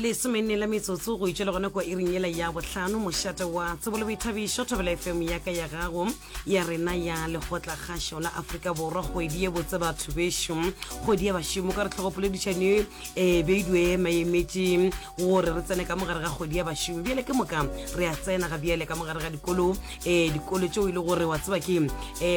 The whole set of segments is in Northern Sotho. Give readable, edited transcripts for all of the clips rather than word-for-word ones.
Lesomenne la metsotso go itšwela gona kua iring yela ya bohlano, mošate wa tsebo le boithabišo, Thobela FM ya ka ya gago ya rena ya Lekgotlakgašo la Afrika Borwa. Kgwedi ye botse batho bešo, kgwedi ya bašomo, ka re tlhogopoledišano ye e beilwe maemetše gore re tsene ka mogare ga kgwedi ya bašomi. Bjale ke moka re a tsena ga bjale ka mogare ga dikolo, um dikolo tšeo e le gore wa tseba ke um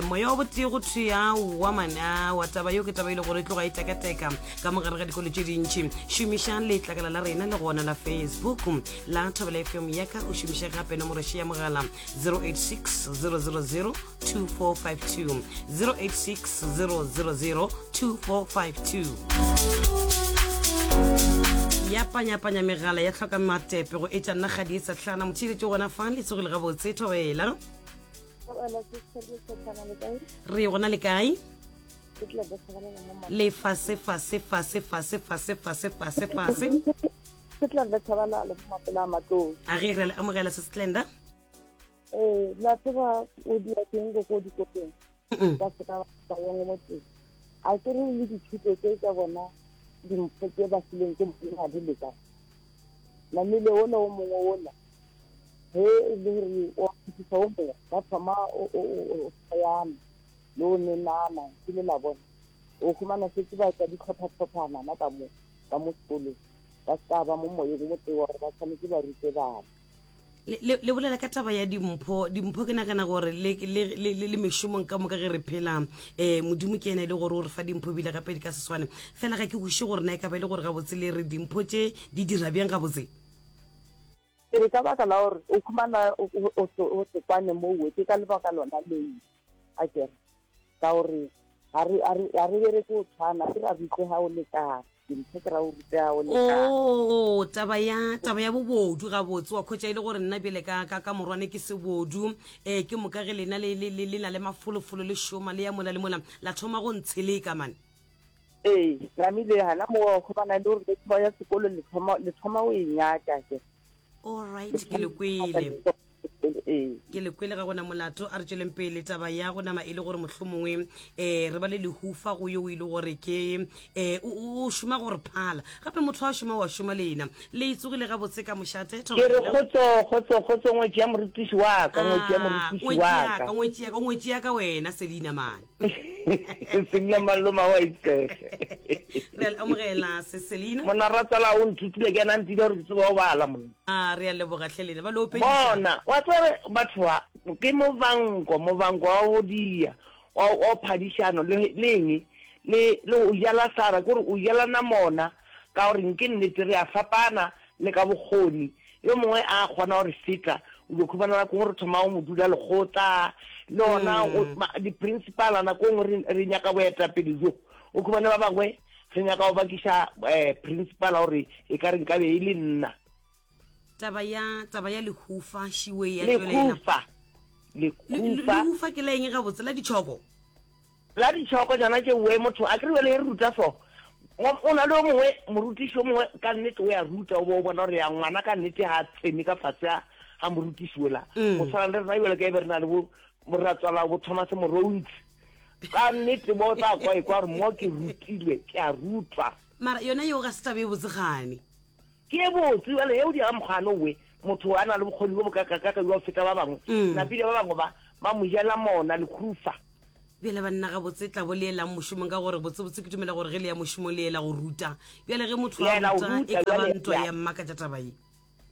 moya wa botee go thwe wa mana wa taba yeo ke taba e le gore e tloga e tekateka ka mogare ga dikolo tše dintši. Šomiša letlakala la rena le gona la Facebook la Thobela FM ya ka, o šomiše gape nomoro še ya mogala 086 000 2452, 086 000 2452. Ya panyapanya megala ya hloka matepe go etša nna kgadi e sehlana. Motheeletši gona fa le tsogile gabotse. Thobela. Re gona le kae? Le fase fase fase fase fase fase fase fase. Ke tla re tshabala le mapela a matlou. A ge re le amogela se Stlenda. Eh, la tseba o dia teng go go dikopeng. Ba se ka ba yengwe mo teng. A ke re le dithuto tse tsa bona dimpho tse ba fileng ke Modimo ga di lekane. Namile ola o mongwe ola ge e le gore o phethisa o mongwe ba thoma o o o o le o nenana kile la bona o humana šetše ba etsa dihlopha-hlophana na ka mo ka mo sekolong ba se ka ba mo moyeng o motee wa gore ba tshwanetse ba rute bana. Le, le, le bolela ka taba ya dimpho. Dimpho ke nagana gore le, le, le, le, le mešomong ka moka ge re phela, um Modimo ke yena e le gore o re fa dimpho ebile gape di ka se swane. Fela ga ke kwešiše gore na e ka ba e le gore gabotse le re dimpho tše di dira bjang gabotse. Ke re ka baka la gore o khumana o se kwane mowe, ke ka lebaka lona leo, a kere, ka gore ga re, ga re, ga re bereke go tshwana, ke ra rutega go lekana, dintho ke ra go rutega go lekana. Oo, taba ya, taba ya bobodu gabotse, wa khwetša e le gore nna bjale ka, ka, ka morwane ke sebodu, eh, ke moka ge lena le, le, le, le na le mafolofolo le šoma le ya mola le mola, la thoma go ntsheleka man. Ee, namile gana mo wa khumana le gore le thoma ya sekolo le thoma, le thoma o e nyaka ke. All right, ke le kwele. Ee. Ke le kwele, ga gona molato. A re tšweleng pele taba ya go nama e le gore mohlomongwe um re ba le lehufa go yo o ile gore ke um o šoma gore phala gape motho wa šoma wa šoma le ena le tsogile gabotse ka mošate. Ke re kgotso kgotso kgotso ngwetši ya morutiši wa ka ngwetši ya morutiši wa ka ngwetši ya ka ngwetši ya ka wena Selina man. Selina Maloma wa itsege. Re a le amogela se Selina. Monna ratsala o nthutile ke ena a ntile gore ke tsebe go bala monna. A re a leboga hle lena ba le opediša. Bona wa tsebe batho ba ke movanko movanko wa go dia wa wa phadišano le le eng le le o jala sara ke gore o jalana mona ka gore nke nnete re a fapana le ka bokgoni Yo mongwe a kgona go re feta, o dio khumana nako nngwe re thoma go mo dula lekgotla, le gona di-principal nako nngwe re, re nyaka boetapele bjo. O khumane ba bangwe re nyaka go bakiša principal gore e ka re nkabe e le nna. Taba ya, taba ya lehufa šiwe ya tšwelela. Lehufa, lehufa. Lehufa ke la eng gabotse? La ditšhoko? La ditšhoko tšona tše we motho a kere bjale ge re ruta so o na le o mongwe morutiši o mongwe ka nnete o ya ruta o bo o bona gore ya ngwana ka nnete ga a tsene ka fase ga ga morutiši ola mm. go tshwana le rena bjale ka e be re na le bo moratswala bo Thomas Morontsi ka nnete bo tla kwa e kwa gore mo ke rutilwe ke a rutwa mara yona yeo ga se taba e botse gane Ke e botse bjale ge o dira mokgwa owe, motho a na le bokgoni bjo bokakakaka bja go feta ba bangwe, mm. napile ba bangwe ba ba mo jela mona lekhufa. Bjale banna gabotse tla bo le elang mošomong ka gore botsebotse ke dumela gore ge le ya mošomong le ela go ruta. Bjale ge motho a ruta e ka ba ntwa ya mmakatša taba ye.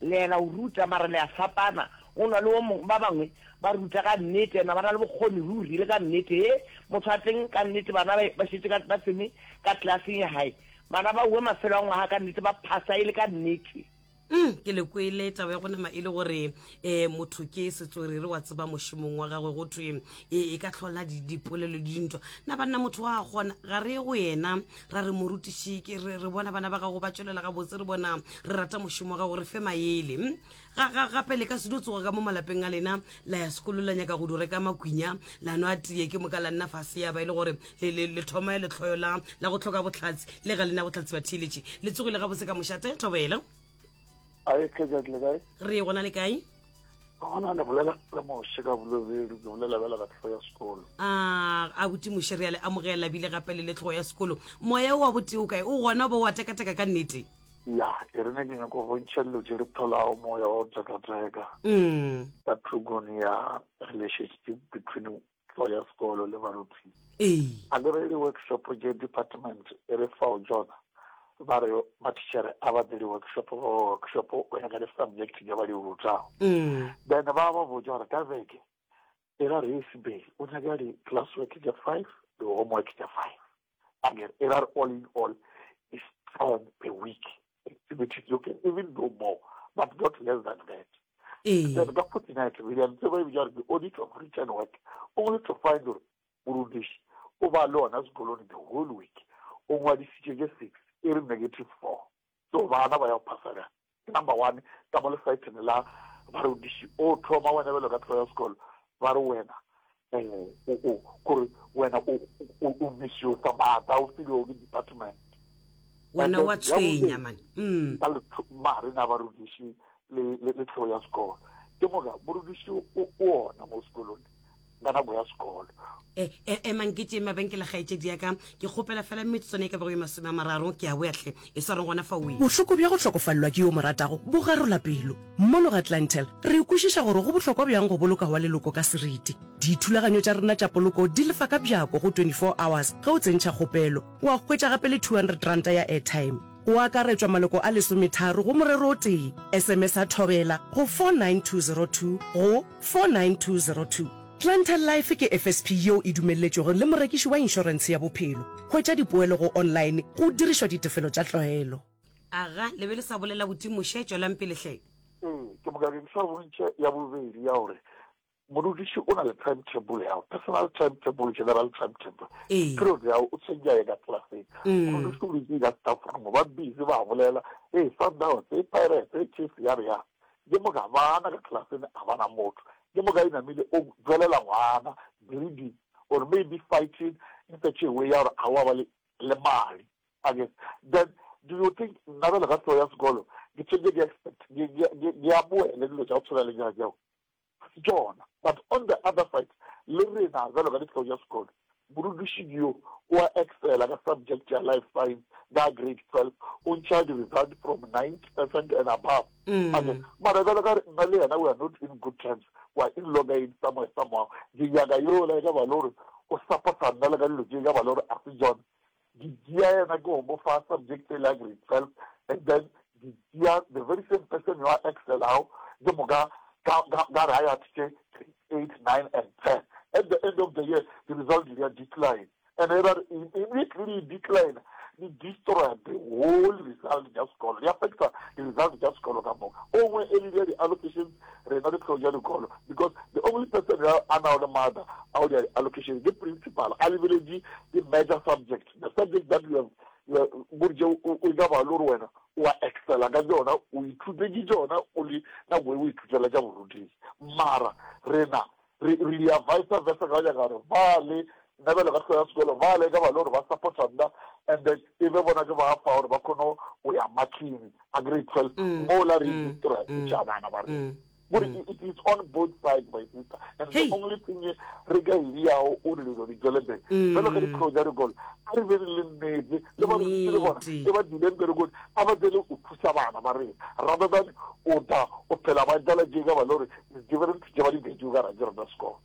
Le ela go ruta mara le a fapana. O na le o mongwe ba bangwe ba ruta ka nnete ena ba na le bokgoni ruri le ka nnete he motho a teng ka nnete bana ba šetše ba tsene ka klaseng ya hae Bana ba uwe mafelo a ngwaga ka nnete, ba phasa e le ka nnete. Mm, ke le kwele taba ya go nama e le gore um motho ke setswerere wa tseba mošomong wa gagwe go thwe e, e ka hlola dipolelo le dintwa. Na banna motho wa gona ga re go yena ra re morutiši ke re, re bona bana ba gago ba tšwelela gabotse re bona re rata mošomo wa gago re fe maele. Mm? Ga, ga, gape le ka se dio tsoga ka mo malapeng a lena la ya sekolo la nyaka go di reka makwinya la nwa tee ke moka la nna fase ya ba e le gore le, le, le thoma lehloyo la, la go hloka bohlatse le ga le na bohlatse ba theeletše. Le tsogile gabotse ka mošate Thobela. Ae, Kgajat, le kae? Re gona le kae? Gona le bolela le Moshe ka Bolobedu, ke bolela bjala ka tlhogo ya sekolo. A, abuti Moshe re a le amogela bile gape le le tlhogo ya sekolo. Moya o wa botee o kae? O gona o ba o a tekateka ka nnete? Ya, e re ne ke nyako bontšha dilo tše re tholago moya wa go tekateka Mm. ka thokong ya relationship between hlogo ya sekolo le barutiši. Ee. A ke re di-workshop tše department e re fao tšona, ba re mathišere a ba tle di-workshop, ba ba workshop go ya ka di-subject tše ba di rutago. Mm. Then ba ba botša gore ka beke e ra re Isibeli o nyaka di-class work tša five, di-homework tša five. Akere e ra re all in all is 10 per week activities. You can even do more, but not less than that. Ee. Then ka fortnight re dira ntho e ba e bitša gore ke audit of written work, only to find gore morutiši o ba le ona sekolong the whole week, o ngwadišitše tše six, e re negative four. So bana ba ya go phasa bjang? Ke number one ka mo lesaethene la barutiši o thoma wena bjalo ka hlogo ya sekolo ba re wena um o o kore wena o o o misusa maatla o filwego ke department. Wena And then wa ya tshwenya bobedi man. Mm. ka magareng a barutiši le le le hlogo ya sekolo ke moka morutiši o o ona mo sekolong ka nako ya sekolo. E, e, emang ke tšee mabenkele kgaetšedi ya ka, ke kgopela fela metsotswana e ka bago ye masomeamararo, ke a boya hle. E swareng gona fa o e. Bohloko bja go hlokofalelwa ke yo o mo ratago bo garola pelo. Mono ga Clientele, re kwešiša gore go bohlokwa bjang go boloka wa leloko ka seriti. Dithulaganyo tša rena tša poloko di lefa ka bjako go 24 hours ge o tsentšha kgopelo. Wa hwetša gape le R200 ya airtime. Go akaretšwa maloko a lesometharo go morero o tee. SMS-a Thobela go 49202 go 49202. Clientele Life ke FSP yeo e dumelletšwego le morekiši wa inšorentshe ya bophelo. Hwetša dipoelo go online go dirišwa ditefelo tša tlwaelo. Aga, le be le sa bolela buti Moshe, tšwelang pele hle. Ee, ke moka ke sa bontšha ya bobedi ya gore Morutiši o na le timetable ya personal timetable, general timetable. Ee. Period ya o tshwenya ye ka classeng. Mm. Morutiši o dutse ka staff room ba busy ba bolela, hey Sundowns, hey Pirates, hey Chiefs ya re ya. Ke moka bana ka classeng a bana motho. Ke moka e namile o tswelela ngwana bleeding or maybe fighting in such a way ya gore a wa ba le le madi. Again, then do you think nna bjalo ka hlogo ya sekolo ke tshwentse ke expect ke ke ke amohele dilo tša go tshwana le tša tšeo? Ga se tšona. But on the other side, le rena bjalo ka dihlogo tša sekolo, morutiši yo o a excela ka subject ya Life Science ka grade 12, o ntšha di-result from 90 percent and above. Ake, mara bjalo ka re nna le yena we are not in good terms, we are in loggerheads somewhere somehow, ke nyaka yola e ka ba le gore o supporta nna le ka dilo tše e ka ba le gore a se tšona. Di tšea yena ke go mo fa subject ele ya grade 12 and then di tšea the very same person yo a excelago ke moka ka ka ka re a ya tše grade 8, 9 and 10. At the end of the year the result di a decline and e ra re immediately di decline di destroya the whole result tša sekolo, di affecta di result tša sekolo ka moka. O nngwe e le dia di-allocations rena ditlhogo tša dikolo because the only person ya a nago le maatla a go dira di-allocation ke principal a lebeletše di-major subject the subject that you have gore tše o ka ba le gore wena o a excela ka tšona o ithutetše tšona o le nako e o ithutela tša borutegi mara rena re re dia vice versa ka nyaka gore ba le nna bjalo ka hlogo ya sekolo ba le ka ba le gore ba supporta nna and then e be bona ke ba fa gore ba kgone go ya marking a grade 12 mm, mola re mm, destroy mm, tša bana ba rena gore it is on both sides my sister and the only thing re ka e diago o re dilo di tswele pele jalo ka ditlhogo tša dikolo a re be re le nnete le ba le bona e ba dileng berekong a ba tsele o thusa bana ba rena rather than o tla o phela ba jala tše ka ba le gore different tše ba di betše ka ra ke rena sekolo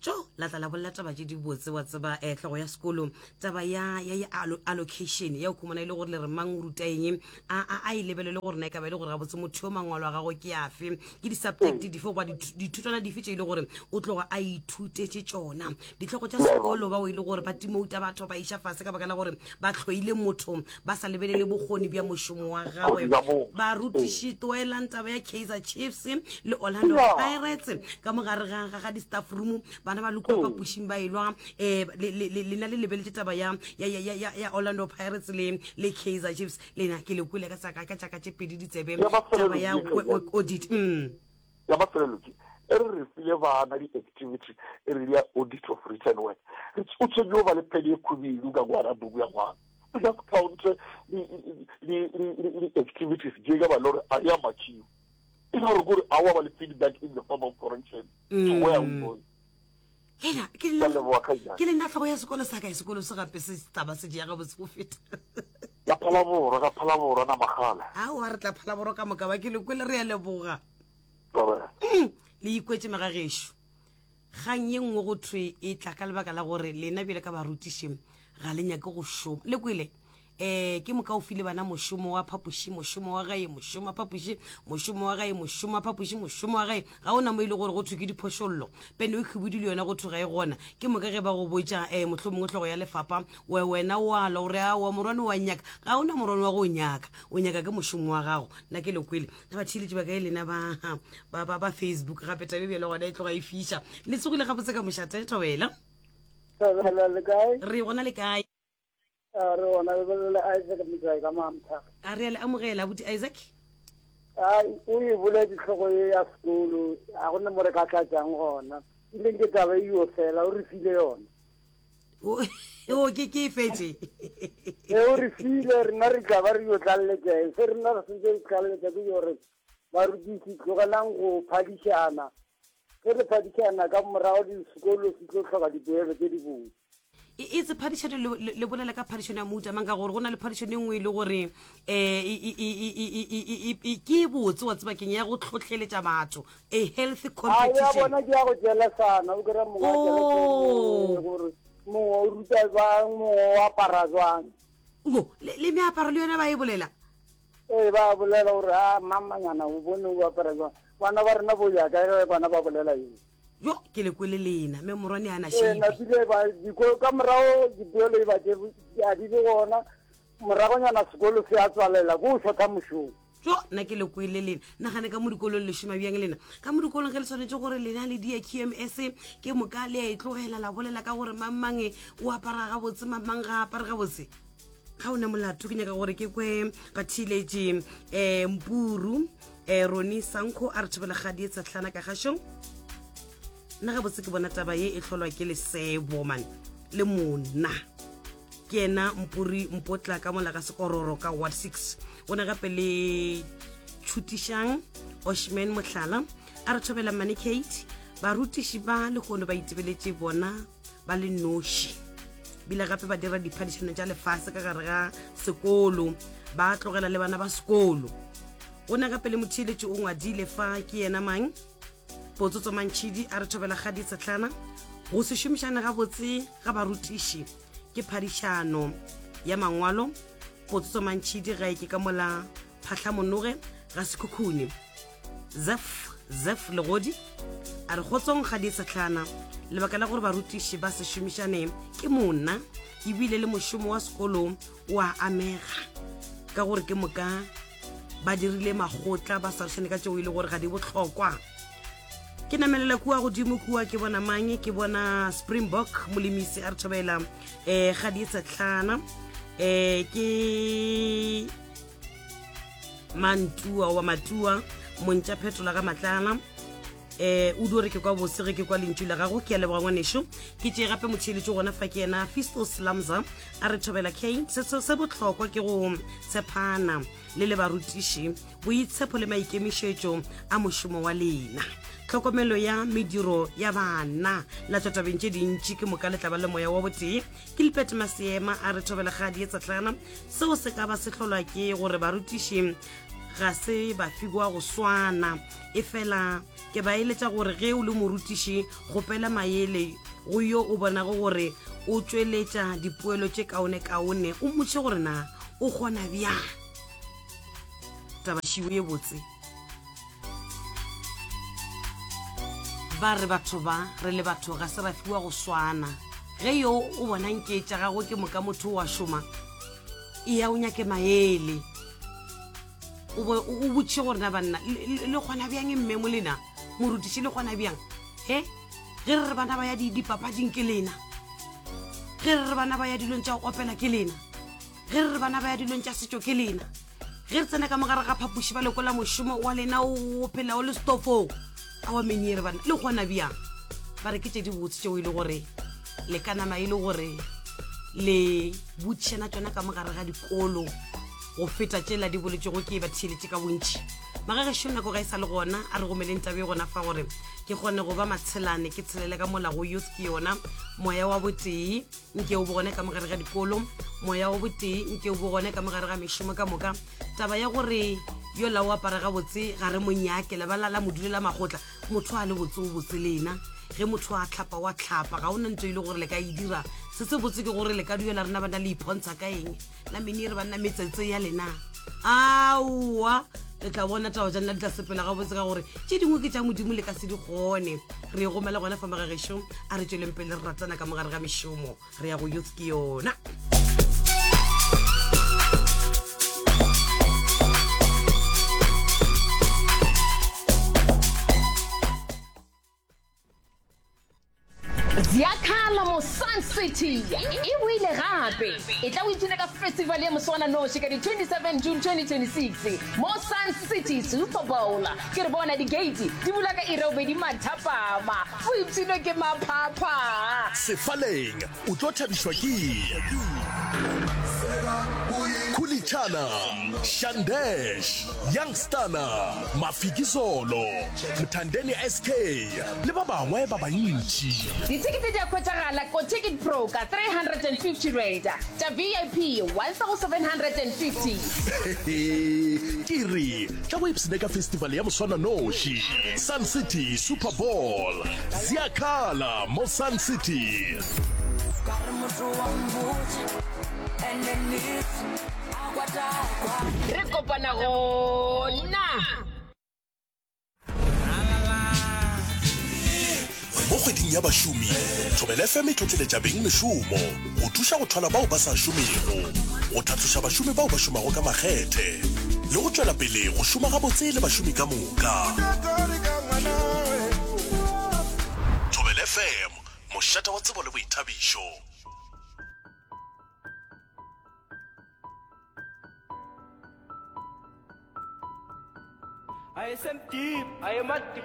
Tšo, la tla la bolela taba tše dibotse, wa tseba, eh, hlogo ya sekolo, taba ya, ya, ya allo, allocation, ya go khumana e le gore le re mang o ruta eng, a, a, a e lebelele gore na e ka ba e le gore gabotse motho yo mangwalo a gagwe ke afe, ke di-subject dife goba dithutwana dife tše e le gore o tloga a ithutetše tšona. Dihlogo tša sekolo bao e le gore ba timouta batho ba iša fase ka baka la gore ba hloile motho ba sa lebelele bokgoni bja mošomo wa gagwe. Barutiši tloelang taba ya Kaizer Chiefs le Orlando Pirates ka mo gare ga ga di-staff room bana ba le kua phapošing ba elwa um lena le lebeletše taba ya ya ya ya ya Orlando Pirates le le Kaizer Chiefs lena ke le kwele ka tsaka ka tšaka tše pedi ditsebe taba ya audit mm. Ya mafelelo ke e re re file bana di-activity e re ya audit of written work o tshwanetse go ba le pene e khubidu ka ngwana buku ya ngwana o just count di-activities je ka ba le gore a ya matšiwa e le gore kore a wa ba le feedback in the form of correction to where are we going. Hela, ke le nna tlhogo ya sekolo sa kae sekolo se gape se taba se jea gabotse go feta. Ka Phalaborwa, ka Phalaborwa Namagala. Aowa re tla Phalaborwa ka moka ba ke le kwele re a leboga. Thobela. Le ikwetše magagešo. Kgang ye nngwe go thwe e tla ka lebaka la gore lena bjale ka barutiši ga le nyake go šoma. Le kwele? Um ke moka o file bana mošomo wa phapoši, mošomo wa gae, mošomo wa phapoši, mošomo wa gae, mošomo wa phapoši, mošomo wa gae. Ga o na mo e le gore go thwe ke diphošollo. Pene e khwibidu le yona go thwe ga e gona. Ke moka ge ba go botša um mohlomongwe hlogo ya lefapha, we wena o a lwa o re aowa morwane wa nnyaka. Ga o na morwane wa go o nyaka, o nyaka ke mošomo wa gago. Nna ke le kwele. Na batheeletši ba kae lena ba, ba, ba, ba Facebook gape tabe bjale gona e tloga e fiša. Le tsogile gabotse ka mošate, Thobela. Thobela le kae? Re gona le kae? A re gona le bolela Isaac Motlae ka Mamtha. A re a le amogela abuti Isaac. A o e boletse tlhogo ye ya sekolo a go ne mo re ka tlatšang gona. Ile ke taba e yo fela o re file yona. O ke ke e fetše. E o re file rena re tla ba re yo tlaleletša eng se rena re sentse re tlaleletša ke gore barutiši tlogelang go phadišana ge le phadišana ka morago sekolo se tlo hloka dipoelo tše dibotse. E, e tse phadišano le, le, le bolela ka phadišano ya mohuta mang ka gore go na le phadišano e nngwe e le gore um ke e botse wa tseba keng ya go tlhohleletša batho a healthy A ya competition bona ke ya go jelesana o kry-a mongwe a jelese Oh. mongwe gore mongwe o ruta jwang mongwe o apara jwang Mo, le, le meaparo le yona ba e bolela ee ba bolela gore a mamanyana o bone o apara jwang bana ba rena bo ya kae ge bana ba bolela eng Jo, ke le kwele lena, mme morwane a na Ee, shebe. napile ba diko ka morago dipoelo e ba tše a di be gona moragonyana sekolo se a tswalela ko o shotha mošomo Jo, nna ke le kwele lena. Nagane ka mo dikolong le šoma bjang lena. Ka mo dikolong ge le swanetše gore lena le die QMS, ke moka le a e tlogela la bolela ka gore mang mang o apara gabotse, mang mang ga a apare gabotse. Ga o na molato, ke nyaka gore ke kwe batheeletši um Mpuru um Roni Sankho a re thobela kgadi e tshehlana ka gašong. Nna gabotse ke bona taba ye e hlolwa ke lesebo man le monna. Ke yena Mpuri Mpotla ka mola ga Sekororo ka Ward 6. O na gape le Tšhutišang Oshman Mohlala a re thobela Mmane Kate. Barutiši ba lehono ba itebeletše bona ba le noši bile gape ba dira diphadišano tša lefase ka gare ga sekolo ba tlogela le bana ba sekolo. O na gape le motheeletši o ngwadile fa ke yena mang Potsotso Mantšhidi a re thobela kgadi Sehlana go se šomišane gabotse ga barutiši ke phadišano ya mangwalo. Potsotso Mantšhidi ga e ke ka mola Phahlamonoge ga Sekhukhune. Zef Zef Legodi a re kgotsong kgadi Sehlana lebaka la gore barutiši ba se šomišane ke monna ebile le mošomo wa sekolo o a amega ka gore ke moka ba dirile magotla ba swarišane ka tšeo e le gore ga di bohlokwa. Ke namelela kua godimo kua ke bona mang ke bona Springbok molemisi a re thobela um ga di setlhana um ke mantua wa matua montša phetola ga matlala eh o dio re ke kwa bose ge ke kwa lentšu la gago ke a leboga ngwanešo ke tšee gape motheeletši gona fa ke yena Fistos Lamza a re thobela K se se bohlokwa ke go tshepana le le barutiši boitshepo le maikemišetšo a mošomo wa lena tlhokomelo ya mediro ya bana la tšwa tabeng tše dintši ke moka le tla ba le moya wa botee Gilbert Maseema a re thobela kgadi e tsetlana seo se ka ba se hlolwa ke gore barutiši ga se ba fiwa go swana efela ke ba eletša gore ge o le morutiši kgopela maele go yo o bonago gore o tšweletša dipoelo tše kaonekaone o mmotše gore na o kgona bjang taba šiwo ye botse ba re batho ba re le batho ga se ra fiwa go swana ge yo o bonang ke tša gagwe ke moka motho wa šoma eya o nyake maele o bo o botšiše gore na banna le kgona bjang mme mo lena morutiši le kgona bjang he ge re re bana ba ya dipapading ke lena ge re re bana ba ya dilong tša go opela ke lena ge re re bana ba ya dilong tša setšo ke lena ge re tsena ka mogare ga phapoši ba lekola mošomo wa lena o phela o le stofong a wa menyere bana le kgona bjang ba re ke tše di botse tšeo e le gore le ka nama e le gore le botšišana tšona ka mogare ga dikolo. go feta tšela di boletšego ke batheeletše ka bontši. Magagešo nako ga e sa le gona, a re gomeleng taba e gona fa gore ke kgone go ba matshelane ke tshelele ka mola go youth ke yona moya wa botee nke o bo gone ka mogare ga dikolo moya wa botee nke o bo gone ka mogare ga mešomo ka moka taba ya gore yola o apara gabotse ga re monyake lebala la modulela magotla motho a le botse o botse lena ge motho a tlhapa wa tlhapa ga o na ntho e le gore le ka e dira se se botse ke gore le ka duela rena bana le iphontsha ka eng la mene re banna metsetse ya lena aowa le tla bona taba tša nna di tla sepela gabotse ka gore tše dingwe ke tša modimo le ka se di kgone re e gomela gona fa magagešo a re tšweleng pele re ratana ka mogare ga mešomo re ya go youth ke yona Ziyakhala mo Sun City e boile gape. E tla o ipshine ka festival ya moswananoši ka di 27 June 2026 mo Sun City Super Bowl. Ke re bona di-gate di bula ka iri ya bobedi mathapama. O ipshinwe ke maphapha. Sefaleng o tlo thabišwa ke Khulichana, Shandesh, Youngstana, Mafikizolo, Mthandeni SK le ba bangwe ba bantši. Dithekete di a hwetšagala ko Ticket Pro ka R350, tša VIP 1750. Ke re tla go ipshine ka festival ya moswananoši, Sun City Super Bowl. Ziyakhala mo Sun City. Re kopana gona. Mo kgweding ya bašomi, Thobela FM e tlotleletša beng mešomo go thuša go thwala bao ba sa šomego, go tlhatloša bašomi bao ba šomago ka makgethe le go tšwela pele go šoma gabotse le bašomi ka moka. Thobela FM, mošate wa tsebo le boithabišo. I am deep, I am at the